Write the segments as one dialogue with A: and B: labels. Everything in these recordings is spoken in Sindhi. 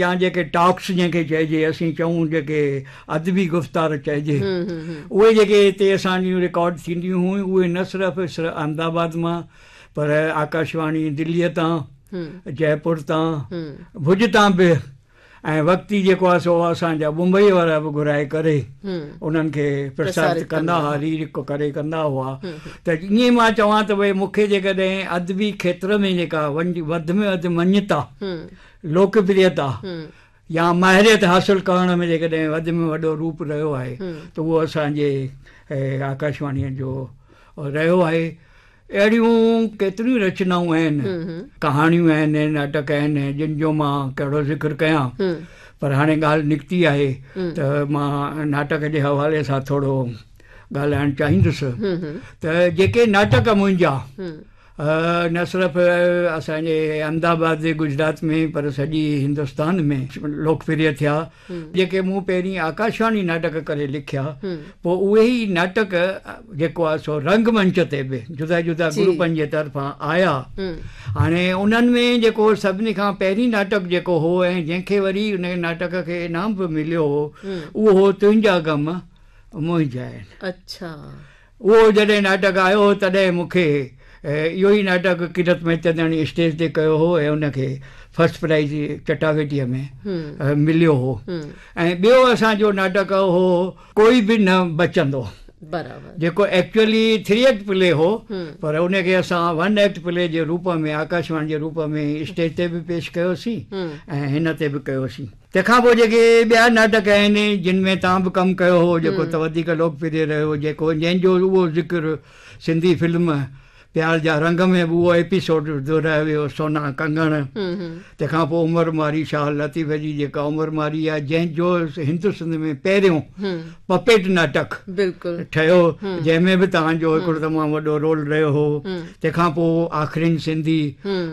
A: يا جيڪي ٽاڪس جنهن کي چئجي اسين چئون جيڪي ادبي گفتار چئجي اهي جيڪي هتي اسان جون رڪارڊ ٿينديون هيون اهي نه صرف احمد آباد مان پر آڪاشواڻي دليء تان جئپور تان ڀڄ تان به ۽ وقتي جيڪو آهي سو اسان جا بمبئي وارا به گهرائي ڪري انهن کي پرسارت ڪندا هئا ري ڪري ڪندا هئا ته ائين مان چوان ته ڀئي مون کي جيڪڏهن ادبي کيتر ۾ جيڪا وڌ ۾ وڌ مڃتا لوڪ پريتا يا ماهريت حاصل ڪرڻ ۾ جيڪڏهن وڌ ۾ وڏو روپ رهيو آهي ته اهو اسان جي آڪاشواڻيء جو رهيو آهي. اهڙيون ڪيتريون رچنائون آهن، ڪهاڻيون آهن، ناٽڪ آهن، جن جو مان ڪهڙو ذڪر ڪيان، پر هاڻي ڳالهه نڪتي آهي ته مان ناٽڪ جي حوالي سان ٿورو ڳالهائڻ چاهيندس ته جيڪي ناٽڪ منهنجا نه صرف اسان جي احمد آباد گجرات ۾ پر سڄي هندستان ۾ لوڪ پريه ٿيا. جيڪي مون پهرين آڪاشواڻي ناٽڪ ڪري لکيا، پوء اهي ئي ناٽڪ جيڪو آهي سو رنگ منچ تي به جدا جدا گروپن جي طرفان آيا. هاڻي انهن ۾ جيڪو سڀني کان پهرين ناٽڪ جيڪو هو ۽ جنهن کي وري ان ناٽڪ کي انعام به مليو هو، اهو هو تنهنجا غم منهنجا آهن.
B: اڇا.
A: اهو جڏهن ناٽڪ آيو هو تڏهن مون کي اهو ئي ناٽڪ ڪيرت مهتنداڻي اسٽيج تي ڪيو هو ۽ ان کي فرسٽ پرائيز چٽاڀيٽيء ۾ مليو هو ۽ ٻيو اسان جو ناٽڪ هو ڪوئي به نه بچندو
B: برابر
A: جيڪو ايڪچوئلي ٿري ايڪٽ پلي هو پر ان کي اسان ون ايڪٽ پلي جي روپ ۾ آڪاشواڻي جي روپ ۾ اسٽيج تي به پيش ڪيوسين ۽ هن تي به ڪيوسين. تنهن کان پوء جيڪي ٻيا ناٽڪ آهن جن ۾ توهان به ڪم ڪيو هو جيڪو ته وڌيڪ لوڪ پريه رهيو جيڪو جنهن جو اهو ذڪر سنڌي فلم پيار جا رنگ ۾ به اهو ايپيسوڊ دهرايو ويو سونا ڪنگڻ تنهن کان پوء عمر مارئي شاهه لطيف جي جيڪا عمر مارئي آهي جنهن جو هند سنڌ ۾ پهريون پپيٽ ناٽڪ ٺهيو جنهن ۾ به توهان جو هڪڙو تمام وڏو رول رهيو هو. تنهن کان پوء آخرين سنڌي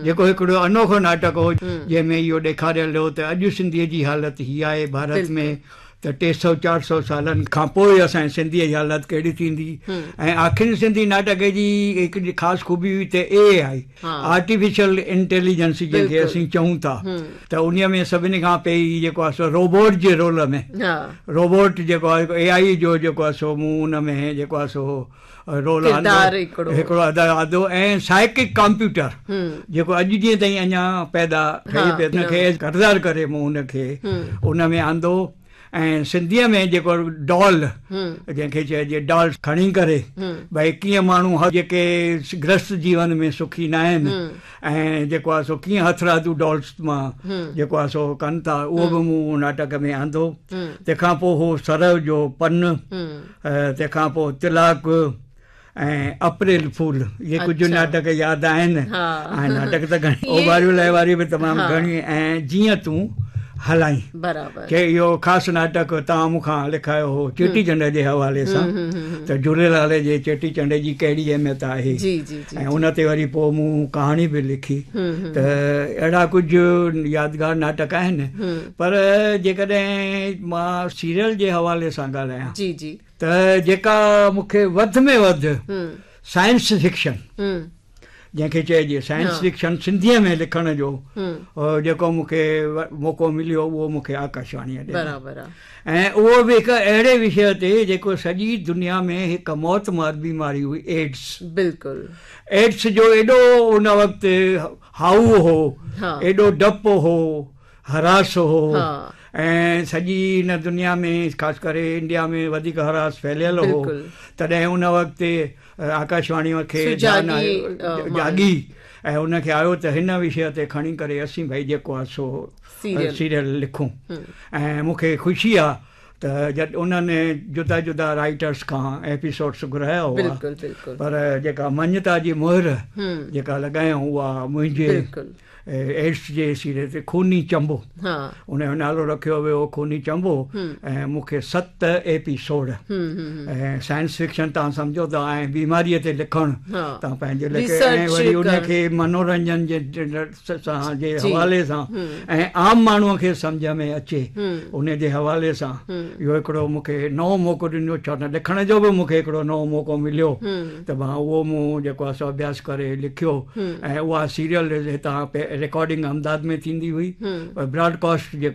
A: جيڪو هڪڙو انوکو ناٽڪ هو جنهن ۾ اهو ڏيکاريل هو ته اڄ سنڌيء جي حالت هي آهي ڀارت ۾ ته ٽي سئو چار سئو سالن کان پوء اسان جي سنڌيء جي حالت ڪهڙي ٿيندي ۽ آخرين سنڌي ناٽڪ جي هڪڙي خاص خوبي هئي ته اي آء آرٽيفيشل انٽيليجنس جنهن کي اسين چئون ٿا ته انهيء ۾ سڀني کان پهرين جيڪو آهي سو روبوٽ جي رول ۾ روبوٽ جيڪو آهي اي آء جو جيڪو آهي سو مون ان ۾ جيڪو آهي سو رول آندو هڪڙو ادا آندو ۽ سائيڪڪ ڪمپيوٽر جيڪو اڄ ڏينهن تائين اڃا پيدا ٺهي پيو ان کي ڪردار ڪري مون ان کي ان ۾ آندو ۽ سنڌيء ۾ جيڪو ڊول جنهن کي چئجي ڊال کڻي ڪري ڀئي ڪيئن ماڻهو هر جيڪي گرهست جيون ۾ سکي ناهن ۽ جيڪو آهي سو ڪيئن هٿرادو ڊالس مان جيڪو آهي سو ڪن ٿا اهو به مون ناٽڪ ۾ آندو تنهن کان پوء هو سرء جو پن تنهن کان پوء طلاق ۽ اپريل فول اهي ڪجهه ناٽڪ ياد آهن ۽ ناٽڪ ته گهڻي اوڀاريون لهواريون به تمام گهڻي ۽ جيئن تون هلائين
B: برابر
A: چي اهو خاص ناٽڪ توهان مون کان لکايو هو چيٽي چنڊ جي حوالي سان ته جهوليلال جي چيٽي چنڊ جي ڪهڙي اهميت آهي
B: جي جي
A: جي ۽ ان تي وري پوء مون ڪهاڻي به لکي ته اهڙا ڪجهه يادگار ناٽڪ آهن پر جيڪڏهن مان سيريل جي حوالي سان ڳالهايان
B: جي جي
A: ته جيڪا مون کي وڌ ۾ وڌ سائنس فڪشن جنهن کي چئجي سائنس فڪشن سنڌيء ۾ لکڻ جو جيڪو مون کي موقعو مليو اهو مون کي آڪاشواڻيء ڏنو ۽ اهو به هڪ اهڙي وشيه تي جيڪو سڄي دنيا ۾ هڪ موتمار بيماري هئي ايڊز
B: بلڪل
A: ايڊز جو ايڏو ان وقت هائو هو ايڏو ڊپ هو هراس هو ۽ سڄي هن دنيا ۾ خاص ڪري انڊيا ۾ وڌيڪ هراس ڦهليل هو تڏهن ان وقت آڪاشواڻي کي ڌيان آيو جاڳي ۽ ان کي آيو ته هن وشيه تي کڻي ڪري اسين ڀئي جيڪو آهي سو سيريل لکون ۽ مون کي خوشي آهي ته جڏ انهن جدا جدا رائيٽرس کان ايپيسوڊس گهرايا هئا پر جيڪا مڃتا جي مهر جيڪا لڳايائون اها منهنجي ايڊز جي سيريل تي خوني چنبو ان جو نالو رکيو ويو خوني چنبو ۽ مون کي 7 ايپيسوڊ ۽ سائنس فڪشن تان سمجهو ته ۽ بيماري تي لکڻ تان پنهنجي لکي ۽ وري ان کي منورنجن جي سان جي حوالي سان ۽ عام ماڻهو کي سمجهه ۾ اچي ان جي حوالي سان اهو هڪڙو مون کي نئون موقعو ڏنو ڇو ته لکڻ جو به مون کي هڪڙو نئون موقعو مليو ته مان اهو مون جيڪو آهي سو اڀياس ڪري لکيو ۽ اها سيريل هتان رڪارڊنگ احمدآباد ۾ ٿيندي هئي پر براڊ ڪاسٽ جيڪو.